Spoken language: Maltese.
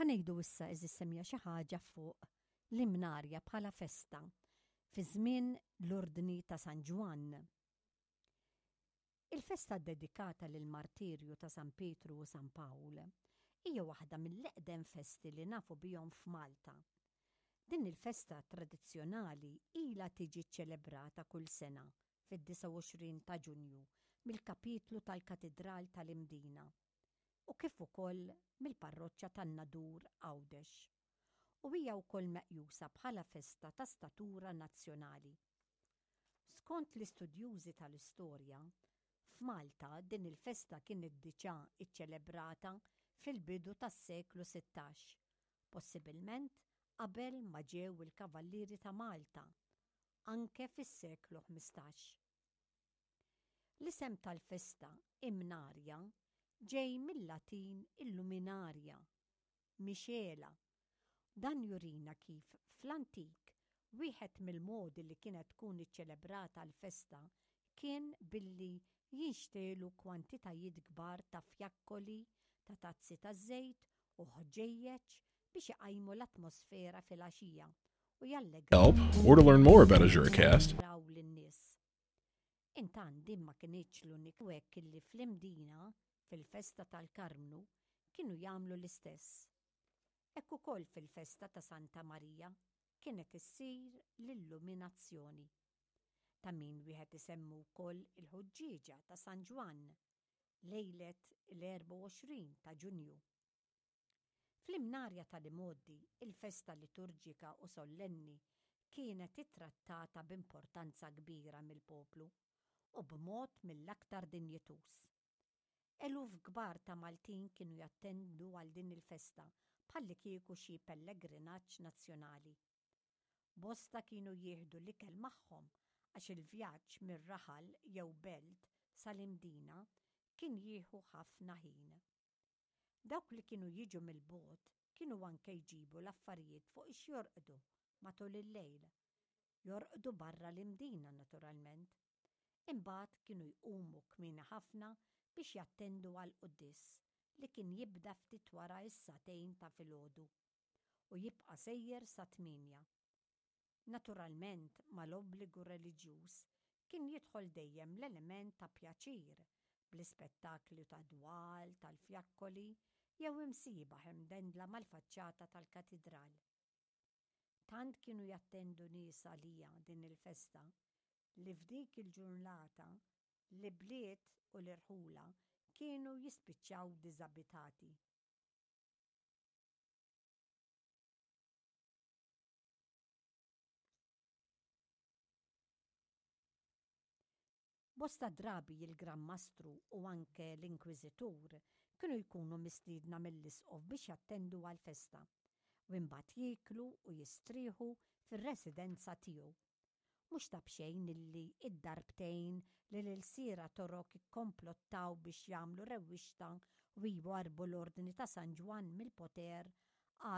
Ħa ngħidu issa għeżież semmiegħa xi ħaġa fuq l-Imnarja bħala festa fi żmien l-Ordni ta' San Ġwann. Il-festa ddedikata lill-martirju ta' San Pietru u San Pawl hija waħda mill-eqdem festi li nafu bihom f'Malta. Din il-festa tradizzjonali ilha tiġi ċċelebrata kull sena fid-29 ta' Ġunju mill-Kapitlu tal-Katidral tal-Imdina u kif ukoll mill-Parroċċa tan-Nadur Għawdex u hija wkoll meqjusa bħala festa ta' statura nazzjonali. Skont l-istudjużi tal-istorja, f'Malta din il-festa kienet diġà ċċelebrata fil-bidu tas-seklu 16, possibilment qabel ma ġew il-Kavallieri ta' Malta, anke fis-seklu 15. L-isem tal-festa, Imnarja, ġej mil-Latin illuminaria, mixegħla. Dan jurina kif fl-antik wieħed mill-modi li kienet tkun iċċelebrata l-festa kien billi jinxtegħlu kwantitajiet kbar ta' fjakkoli, ta' tazzi taż-żejt u ħġejjeġ biex iqajmu l-atmosfera filgħaxija u Help or to learn more about AzuraCast. jallegraw lin-nies. Intant din ma kinitx l-unika u hekk illi fl-Imdina, fil-festa tal-Karmnu, kienu jagħmlu l-istess. Hekk ukoll fil-festa ta' Santa Marija kienet issir l-illuminazzjoni. Ta' min wieħed isemmi wkoll il-ħuġġieġa ta' San Ġwann, lejlet il-24 ta' Ġunju. Fl-Imnarja tal-imgħoddi, il-festa liturġika u sollenni kienet ittrattata b'importanza kbira mill-poplu u b'mod mill-aktar dinjituż. Eluf kbar ta' Maltin kienu jattendu għal din il-festa bħallikieku xi pellegrinaġġ nazzjonali. Bosta kienu jieħdu l-ikel magħhom għax il-vjaġġ mir-raħal jew belt sal-Imdina kien jieħu ħafna ħin. Dawk li kienu jiġu mill-bogħod kienu anke jġibu l-affarijiet fuq ix jorqdu matul il-lejl. Jorqdu barra l-Imdina naturalment. Imbagħad kienu jqumu kmieni ħafna biex jattendu għall-quddies li kien jibda ftit wara s-sagħtejn ta' filgħodu u jibqa' sejjer sat-tmienja. Naturalment mal-obbligu reliġjuż kien jidħol dejjem l-element ta' pjaċir bl-ispettaklu ta' dwal, tal-fjakkoli jew imsiebaħ imdendla mal-faċċata tal-katidral. Tant kienu jattendu nies għaliha din il-festa li f'dik il-ġurnata l-ibliet u l-irħula kienu jispiċċaw diżabitati. Bosta drabi il-Gran Mastru u anke l-Inkwiżitur kienu jkunu mistiedna mill-Isqof biex jattendu għall-festa, u imbagħad jieklu u jistrieħu fir-residenza tiegħu. Mhux ta' b'xejn illi d-darbtejn li l-ilsiera Torok ikkomplottaw biex jagħmlu rewwixta u jwarrbu l-Ordni ta' San Ġwann mill-poter.